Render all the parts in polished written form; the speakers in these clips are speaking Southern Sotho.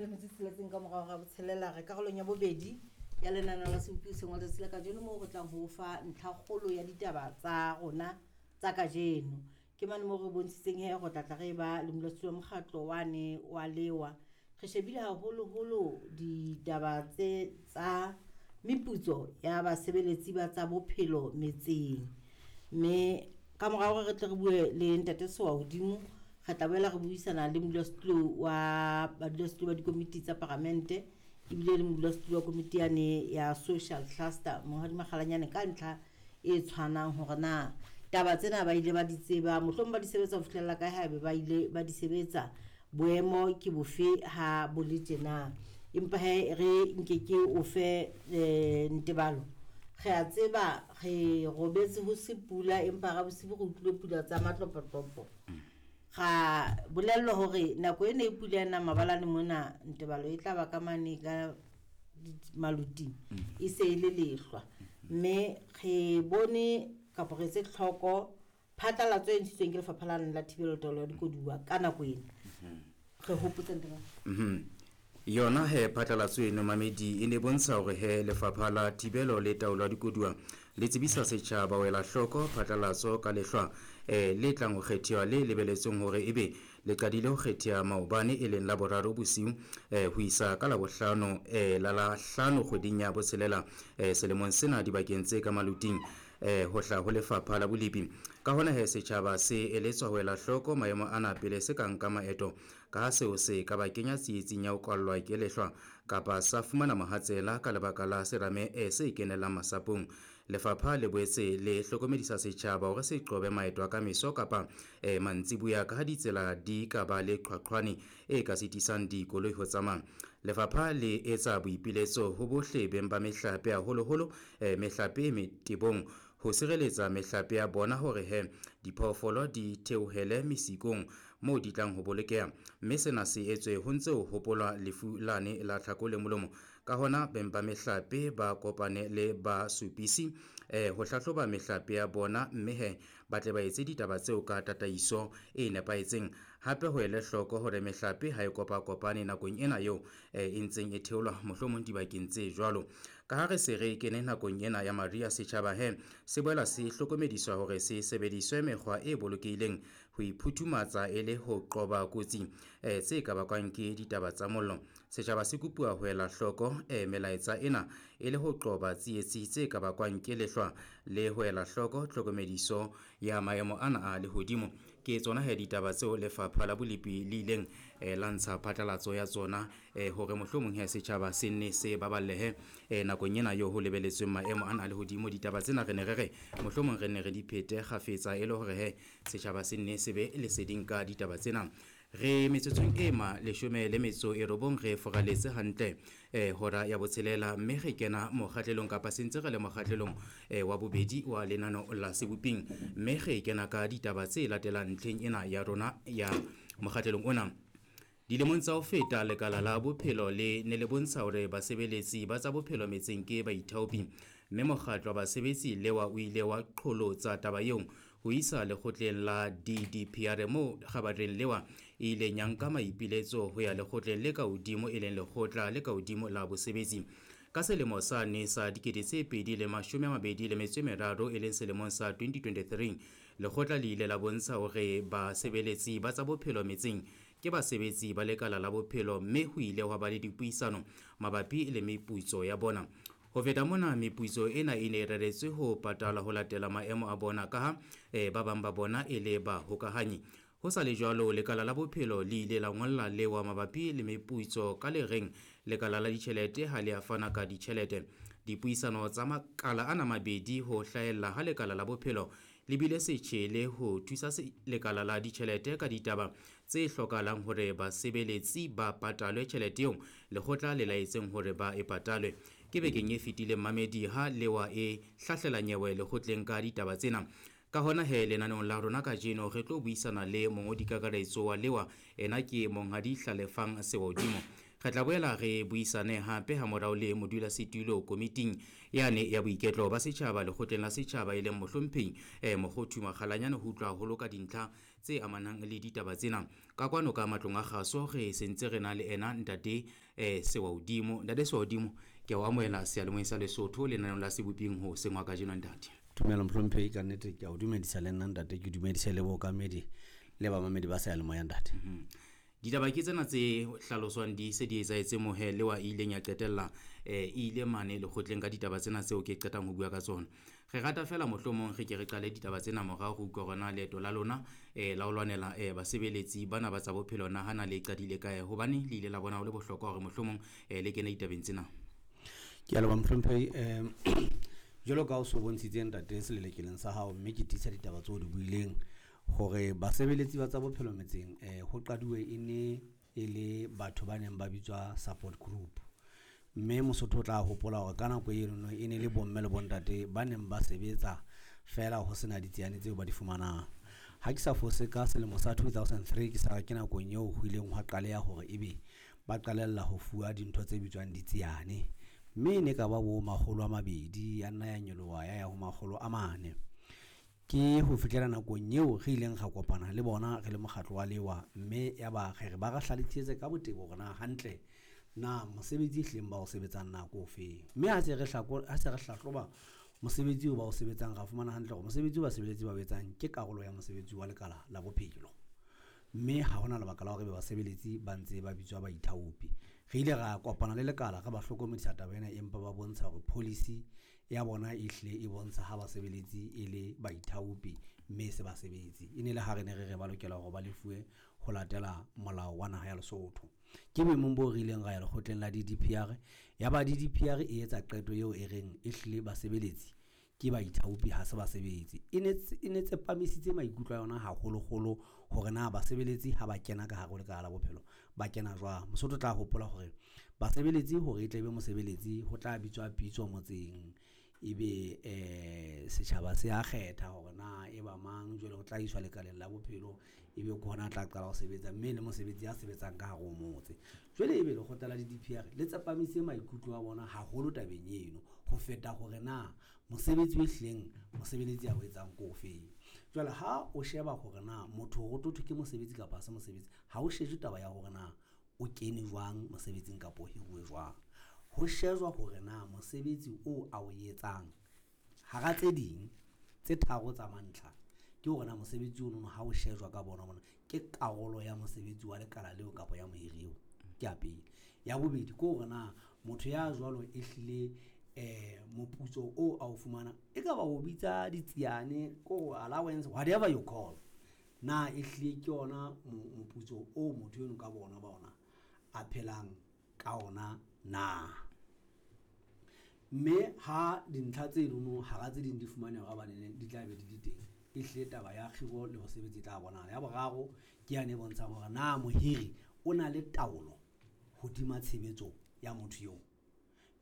Le metso e tsheletseng ka morao ga botshelela, re karolong ya bobedi ya lenaneo la Sebopi hoseng wa letsatsi la kajeno, moo re tlang ho fa ntlhakgolo ya ditaba tsa rona tsa kajeno. Ke mane moo re bontshitseng he go tlatla re ba le modulasetulo wa mokgatlo wane wa lewa. Re shebile haholoholo ditaba tse tsa meputso ya basebeletsi ba tsa bophelo metseng, mme ka morao hore re tle re bue le ntate Sewa hodimo, re tla boela re buisana le modulasetulo wa badulasetulo ba dikomiti tsa paramente, ebile le modulasetulo wa komiti yane ya social cluster, Monghadi Makgalanyane, ka ntlha e tshwanang hore na taba tsena ba ile ba di tseba, mohlomong ba di sebetsa ho fihlella kae, haebe ba ile ba di sebetsa, boemo ke bofe ha bo le tjena. Empa he re nke ke o fe ntebalo. Re a tseba re robetse ho se pula, empa ra bosibu re utlwile pula tsa matlopotlopo. Ra bolellwa hore nako ena e pula ena mabalane mona ntebalo e tla ba ka mane ka maluting, e se e le lehlwa. Mme re bone kapa re etse tlhoko phatlalatso e ntshitsweng ke lefapha la la thibelo taolo ya dikoduwa ka nako ena. Re hopotse ntebalo. Yona he phatlalatso eno mamedi e ne bontsha hore he lefapha la thibelo le taolo ya dikoduwa le tsebisa setjhaba ho ela hloko phatlalatso ka lehlwa le tlang ho kgethiwa le lebeletsweng hore ebe le qadile ho kgethiwa maobane e leng la boraro bosiu ho isa ka labohlano la la hlano kgweding ya botshelela selemong sena dibakeng tse ka maluting ho hla ho lefapha la bolepi. Ka hona he setjhaba se eletswa ho ela hloko maemo ana pele se ka nka maeto, ka ha seo se ka ba kenya tsietsing ya ho kwallwa ke lehlwa kapa sa fumana mohatsela ka lebaka la serame se kenellang masapong. Lefapha le boetse le hlokomedisa setjhaba hore se qobe maeto a ka meso kapa mantsiboya, ka ha ditsela di ka ba le qhwaqhwane e ka sitisang dikoloi ho tsamaya. Lefapha le etsa boipiletso ho bohle beng ba mehlape, haholoholo mehlape e metebong, ho sireletsa mehlape ya bona hore he diphoofolo di theohele mesikong moo di tlang ho bolokeha, mme sena se etswe ho ntse ho hopolwa lefu lane la tlhako le molomo. Ka hona beng ba mehlape ba kopane le ba supisi ho hlahloba mehlape ya bona, mme he ba tle ba etse ditaba tseo ka tataiso e nepahetseng. Hape ho ele hloko hore mehlape ha e kopakopane nakong ena eo e ntseng e theolwa mohlomong dibakeng tse jwalo. Ka ha re se re kene nakong ena ya mariha, setjhaba he se boela se hlokomediswa hore se sebediswe mekgwa e bolokehileng ho iphuthumatsa e le ho qoba kotsi tse ka bakwang ke ditaba tsa mollo. Setjhaba se kopuwa ho ela hloko melaetsa ena e le ho qoba tsietsi tse ka bakwang ke lehlwa le ho ela hloko tlhokomediso ya maemo ana a lehodimo. Ke tsona he ditaba tseo lefapha la bolepi le ileng la ntsha phatlalatso ya tsona hore mohlomong he setjhaba se nne se baballehe nakong ena eo ho lebeletsweng maemo ana a lehodimo. Ditaba tsena re ne re re mohlomong re ne re di phete kgafetsa e le hore he setjhaba se nne se be leseding ka ditaba tsena. Re metsotsong e ma leshome le metso e robong re foraletse hantle hora ya botshelela, mme re kena mokgahlelong kapa sentse re le mokgahlelong wa bobedi wa lenano la Seboping, mme re kena ka ditaba tse latelang ntlheng ena ya rona ya mokgahlelong ona. Dilemong tsa ho feta lekala la bophelo le ne le bontsha hore basebeletsi ba tsa bophelo metseng ke baithaopi, mme mokgatlo wa basebetsi lewa o ile wa qholotsa taba eo ho isa lekgotleng la DDPR, moo kgabareng lewa e ileng ya nka maipiletso ho ya lekgotleng le ka hodimo e leng lekgotla le ka hodimo la bosebetsi. Ka selemo sa ne sa 2023 e leng selemong sa 2023, lekgotla le ile la bontsha hore basebeletsi ba tsa bophelo metseng ke basebetsi ba lekala la bophelo, mme ho ile hwa ba le dipuisano mabapi le meputso ya bona. Ho feta mona, meputso ena e ne e reretswe ho patalwa ho latela maemo a bona, ka ha ba bang ba bona e le bahokahanyi. Ho sa le jwalo, lekala la bophelo le ile la ngolla lewa mabapi le meputso ka le reng lekala la ditjhelete ha le a fana ka ditjhelete. Dipuisano tsa makala ana mabedi ho hlahella ha lekala la bophelo le bile setjhele ho thusa lekala la ditjhelete ka ditaba tse hlokahalang hore basebeletsi ba patalwe tjhelete eo lekgotla le laetseng hore ba e patalwe. Ke bekeng e fetileng mamedi ha lewa e hlahlela nyewe lekgotleng ka ditaba tsena. Ka hona he lenaneong la rona kajeno re tlo buisana le mongodi kakaretso wa lewa, ena ke Monghadi Hlalefang Sewahodimo. Re tla boela re buisane hape ha morao le modulasetulo komiting yane ya boiketlo ba setjhaba lekgotleng la setjhaba e leng mohlomphehi Mokgothu Makgalanyane ho utlwa haholo ka dintlha tse amanang le ditaba tsena. Ka kwano ka matlong a kgaso re sentse re na le ena ntate Sewahodimo. Ntate Sewahodimo, ke a o amohela seyalemoyeng sa Lesotho lenaneong la Seboping ho sengwa kajeno ntate. Tumelo mohlomphehi, ka nnete ke a o dumedisa le nna ntate, ke dumedise le bookamedi le bamamedi ba seyalemoya ntate. Ditaba ke tsena tse hlaloswang di se di etsahetse mohe le wa ileng ya qetella e ile mane lekgotleng ka ditaba tsena tseo ke qetang ho bua ka tsona. Re rata fela mohlomong re ke re qale ditaba tsena morao re utlwa hore na leeto la lona la ho lwanela basebeletsi bana ba tsa bophelo na hana le qadile kae, hobane le ile la bona ho le bohlokwa hore mohlomong le kene ditabeng tsena. Ke a leboha mohlomphehi. Jwalo ka o so bontshitse ntate selelekeleng sa hao, mme ke tiisa ditaba tseo di buileng hore basebeletsi ba tsa bophelo metseng ho qaduwe e ne e le batho ba neng ba bitswa support group. Mme Mosotho o tla hopola hore ka nako eno e ne le bomme le bontate ba neng ba sebetsa fela ho sena ditsiane tseo ba di fumanang. Ha ke sa fose ka selemo sa 2003 ke sa ke nakong eo ho ileng hwa qaleha hore ebe ba qalella ho fuwa dintho tse bitswang ditsiane. Mme e ne ka ba bo 200 ya nna ya nyoloha ya ya ho 400. Ke ho fihlela nakong eo re ileng ra kopana le bona re le mokgatlo wa lewa, mme ya ba re re ba re hlalosetse ka botebo hore na hantle na mosebetsi ehlileng ba o sebetsang nako ofeng. Mme ha se re hlahloba mosebetsi oo ba o sebetsang, ra fumana hantle hore mosebetsi o basebeletsi ba o etsang ke karolo ya mosebetsi wa lekala la bophelo. Mme ha hona lebaka la hore ebe basebeletsi ba ntse ba bitswa baithaopi. Re ile ra kopana le lekala re ba hlokomedisa taba ena, empa ba bontsha hore policy ya bona e hlile e bontsha ha basebeletsi e le baithaopi mme e se basebetsi. E ne le ha re ne re re ba lokela hore ba lefuwe ho latela molao wa naha ya Lesotho. Ke boemong bo re ileng ra ya lekgotleng la DDPR, ya ba DDPR e etsa qeto eo e reng e hlile basebeletsi ke baithaopi ha se basebetsi. E ne tsepamisitse maikutlo a yona haholoholo hore na basebeletsi ha ba kena ka hare ho lekala la bophelo ba kena jwang. Mosotho o tla hopola hore basebeletsi hore e tle be mosebeletsi ho tla bitswa pitso motseng, ebe setjhaba se a kgetha hore na e ba mang, jwale o tla iswa lekaleng la bophelo, ebe ke hona a tla qala ho sebetsa, mme le mosebetsi ya sebetsang ka hare ho motse. Jwale ebe lekgotla la DDPR le tsepamise maikutlo a bona haholo tabeng eno ho feta hore na mosebetsi o hlileng mosebeletsi a o etsang ko ofeng. Jwale ha o sheba hore na motho ho thwe ke mosebetsi kapa ha se mosebetsi, ha o shejwe taba ya hore na o kene jwang mosebetsing kapa o hiruwe jwang. Ho shejwa hore na mosebetsi oo a o etsang hara tse ding tse tharo tsa mantlha ke hore na mosebetsi ono ha o shejwa ka bona mona ke karolo ya mosebetsi wa lekala leo kapa ya mohiri eo. Ke ya pele. Ya bobedi ke hore na motho ya jwalo e hlile moputso oo a o fumana e ka ba o bitsa ditsiane ko allowance, whatever you call, na e hlile ke yona moputso o motho eno ka bona ba ona a phelang ka ona na. Mme ha dintlha tse nono hara tse ding di fumaneha hore banene di tla be di le teng, e hlile taba ya kgiro le mosebetsi e tla bonahala. Ya boraro ke yane e bontshang hore na mohiri o na le taolo hodima tshebetso ya motho eo.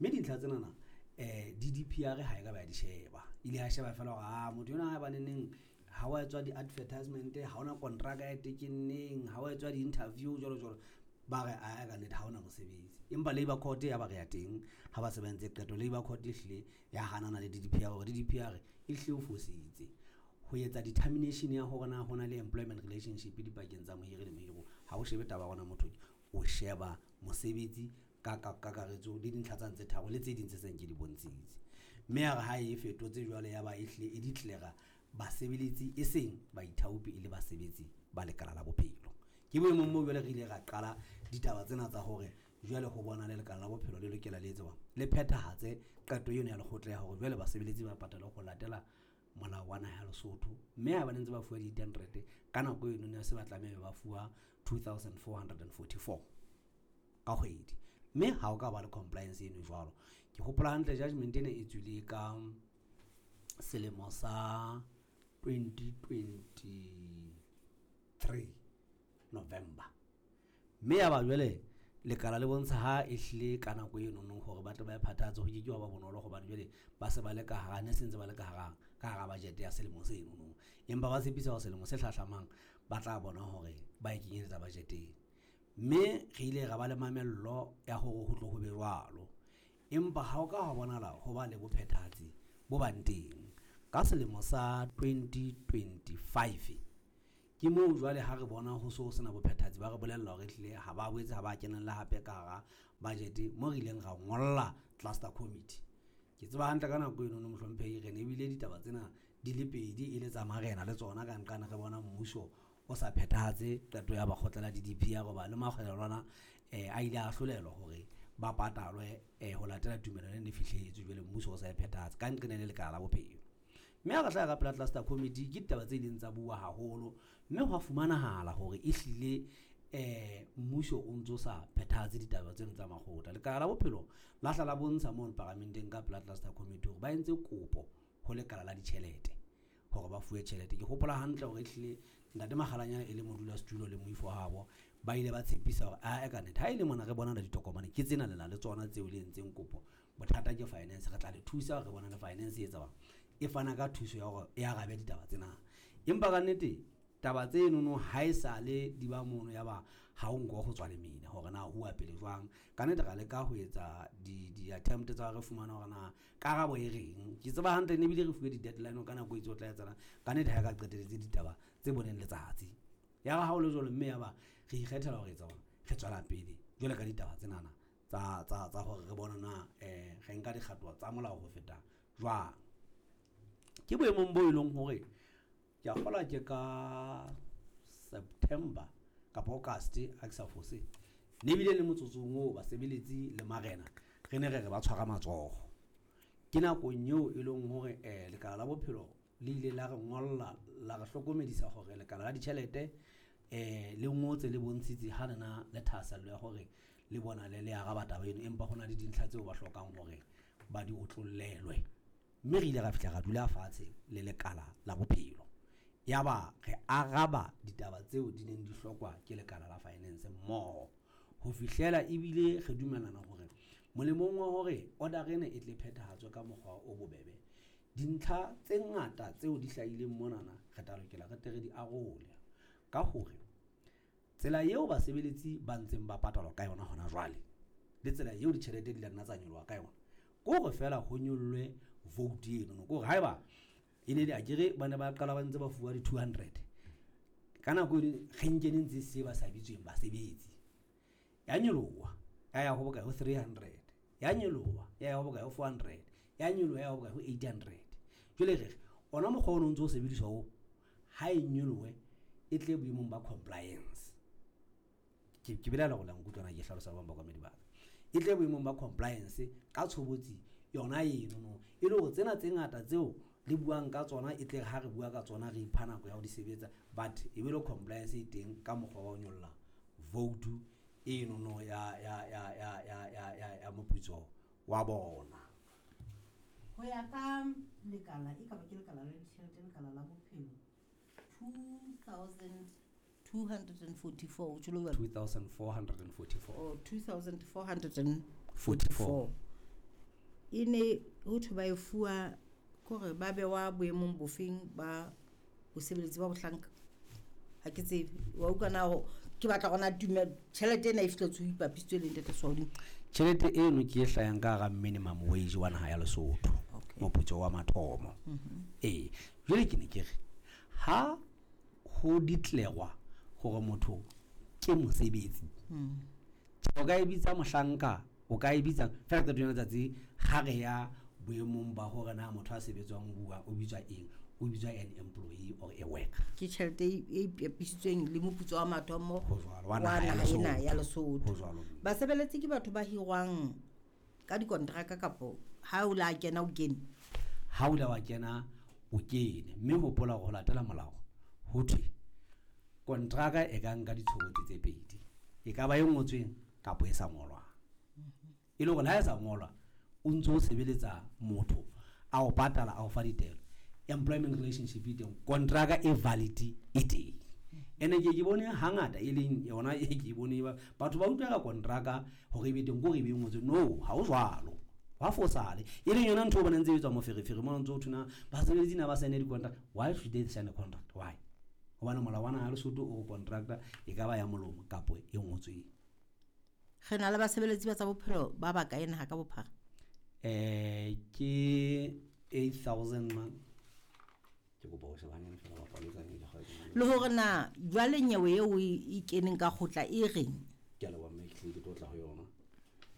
Mme dintlha tsenana DDPR ha e ka ba ya di sheba, ile ya sheba fela hore motho enwa ha baneneng ha wa etswa di-advertisement, ha hona kontraka ya tekenneng, ha wa etswa di-interview jwalo jwalo, ba re a ka nnete ha hona mosebetsi. Empa Labour Court ya ba re ya teng ha ba se ba entse qeto, Labour Court e hlile ya hanana le DDPR hore DDPR e hlile o fositse ho etsa determination ya hore na hona le employment relationship dipakeng tsa mohiri le mohiruwa. Ha o shebe taba ya hona motho, o sheba mosebetsi ka kakaretso le dintlha tsa tse tharo le tse ding tse seng ke di bontshitse. Mme ya re ha e fetotse jwale ya ba e hlile e declare basebeletsi e seng baithaopi e le basebetsi ba lekala la bophelo. Ke boemong moo jwale re ile ra qala ditaba tsena tsa hore jwale ho bona le lekala la bophelo le lokela le etse jwang, le phethahatse qeto eno ya lekgotla ya hore jwale basebeletsi ba patalwe ho latela molao wa naha ya Lesotho. Mme ha ba ne ntse ba fuwa di-800 ka nako eno ne se ba tlameha ba fuwa 2444 ka kgwedi. Mme ha o ka ba le compliance eno jwalo. Ke hopola hantle judgment ena e tswile ka selemo sa 2023 November. Mme ya ba jwale lekala le bontsha ha e hlile ka nako eno nong hore ba tle ba e phathahatse ho ke ke wa ba bonolo hobane jwale ba se ba le ka hara, ne se ntse ba le ka hara budget ya selemo seno nong. Empa ba tshepisa hore selemo se hlahlamang ba tla bona hore ba e kenyeletsa budget-eng. Mme re ile ra ba le mamello ya hore ho tlo ho be jwalo. Empa ha o ka ha bonahala ho ba le bophethahatsi bo bang teng. Ka selemo sa 2025, ke moo jwale ha re bona ho so sena bophethahatsi ba re bolella hore ehlile ha ba boetse ha ba kenella hape ka hara budget moo re ileng ra ngolla cluster committee. Ke tseba hantle ka nako eno no mohlomphehi re ne ebile ditaba tsena di le pedi e le tsa marena le tsona ka nqane re bona mmuso o sa phethahatse qeto ya bakgotla la DDP ya roba le makgwelelwana a ile a hlolelwa hore ba patalwe ho latela tumellano e ne fihletswe jwale mmuso o sa e phethahatse ka nqena le lekala la bophelo. Mme ha re hlaha ka pela cluster committee ke ditaba tse ileng tsa bua haholo mme hwa fumanahala hore ehlile mmuso o ntso sa phethahatse ditaba tseno tsa makgotla. Lekala la bophelo la hla la bontsha mono paramenteng ka pela cluster committee hore ba entse kopo ho lekala la ditjhelete hore ba fuwe tjhelete. Ke hopola hantle hore ehlile ntate Makgalanyane e le modulasetulo le moifo wa habo ba ile ba tshepisa hore ae ka nnete ha e le mona re bona le ditokomane ke tsena lena le tsona tseo le entseng kopo. Bothata ke finance, re tla le thusa re bona le finance e etsa bang e fana ka thuso ya hore e arabe ditaba tsena. Empa ka nnete taba tseno no ha e sale di ba mono ya ba ha o nko ho tswa lemina hore na ho pele jwang. Ka nnete ra leka ho etsa di-attempt tsa re fumana hore na karabo e reng. Ke tseba hantle ne ebile re fuwe di-deadline ka nako e itse o tla etsahalang. Ka nnete ha e ka qetelletse ditaba tse boneng letsatsi. Ya ba ha o le jwalo mme ya ba re ikgethela hore etsa hore re tswela pele jwale ka ditaba tsenana tsa hore re bona na re nka dikgato tsa molao ho feta jwang. Ke boemong bo e leng hore ke a kgolwa ke ka September kapa August ha ke sa fose. Ne ebile le motsotsong oo basebeletsi le marena re ne re re ba tshwara matsoho. Ke nakong eo e leng hore lekala la bophelo le ile la re ngolla la re hlokomedisa hore lekala la ditjhelete le ngotse le bontshitse ha lena le thahasello ya hore le bona le le araba taba eno, empa hona le dintlha tseo ba hlokang hore ba di otlollelwe. Mme re ile ra fihla ra dula fatshe le lekala la bophelo. Ya ba re araba ditaba tseo di neng di hlokwa ke lekala la finance mmoho. Ho fihlela ebile re dumellana hore molemong wa hore order ena e tle phethahatswe ka mokgwa o bobebe, dintlha tse ngata tseo di hlahileng monana re tla lokela re tle re di arole. Ka hore tsela eo basebeletsi ba ntseng ba patalwa ka yona hona jwale le tsela eo ditjhelete di la nna tsa nyoloha ka yona, ke hore feela ho nyollwe vote eno. Ke hore haeba e ne le akere ba ne ba qala ba ntse ba fuwa di-200 ka nako eno re nkene ntse se ba sa bitsweng basebetsi, ya nyoloha ya ya ho bokae ho 300, ya nyoloha ya ya ho bokae ho 400, ya nyoloha ya ya ho bokae ho 800. Jwale re re ona mokgwa ono o ntso o sebediswa oo ha e nyolohe e tle boemong ba compliance. Ke belaela hore la nkutlwa na ke hlalosa ba bang ba kwamedi ba ka. E tle boemong ba compliance ka tshobotsi yona eno no, e le hore tsena tse ngata tseo le buang ka tsona e tle ha re bua ka tsona re ipha nako ya ho di sebetsa, but e be le compliance e teng ka mokgwa wa ho nyolla vote eno no ya moputso wa bona. Ho ya ka lekala e ka ba ke lekala la ditjhelete, lekala la bophelo 2244, o tjho le jwalo? 2444. Oh, 2444. E ne ho thwe ba e fuwa kore ba bewa boemong bofeng ba bosebeletsi ba bohlanka. Ha ke tsebe wa utlwa na ho ke batla hore na tjhelete ena e fihletse ho ipapisitswe le ntate Swauding. Tjhelete eno ke e hlayang ka hara minimum wage wa naha ya Lesotho. Moputso wa mathomo. Ee, jwale ke ne ke re ha ho ditlerwa hore motho ke mosebetsi, o ka e bitsa mohlanka, o ka e bitsa fela qeto ya letsatsi ha re ya boemong ba hore na motho a sebetsang o bua o bitswa eng, o bitswa an employee or a worker. Ke tjhelete e ipapisitsweng le moputso wa mathomo Ho jwalo, wa wa naha ya naha ena ya Lesotho. Lesotho. Ho jwalo. Basebeletsi ke batho ba hirwang ka dikontraka kapo ha o la kena o kene? Ha o la wa kena o kene, mme hopola hore ho latela molao ho thwe kontraka e ka nka ditshobotsi tse pedi, e ka ba e ngotsweng kapa e sa ngolwang. E le hore le ha e sa ngolwa o ntso o sebeletsa motho a o patala a o fa ditaelo, employment relationship e teng, kontraka e valid e teng. Ene ke bone hangata e leng yona e ke bone batho ba utlwa ka kontraka hore e be teng, ke hore e be e ngotswe. No, ha ho jwalo, hwa fosale. E leng yona ntho o bonang ntse e etswa moferefere mona, ntse ho thwe na basebeletsi na ba sign-e di-contract. Why should they sign a contract? Why? Hobane molao wa naha ya Lesotho o kontraka e ka ba ya molomo kapo e ngotsweng. Re na le basebeletsi ba tsa bophelo ba bakae naha ka bophara? Ke 8000 man. Ke kopa ho sheba hanyane fela bapa le tsane Le hore na jwale nyewe eo e keneng ka kgotla e reng? Ke a leboha.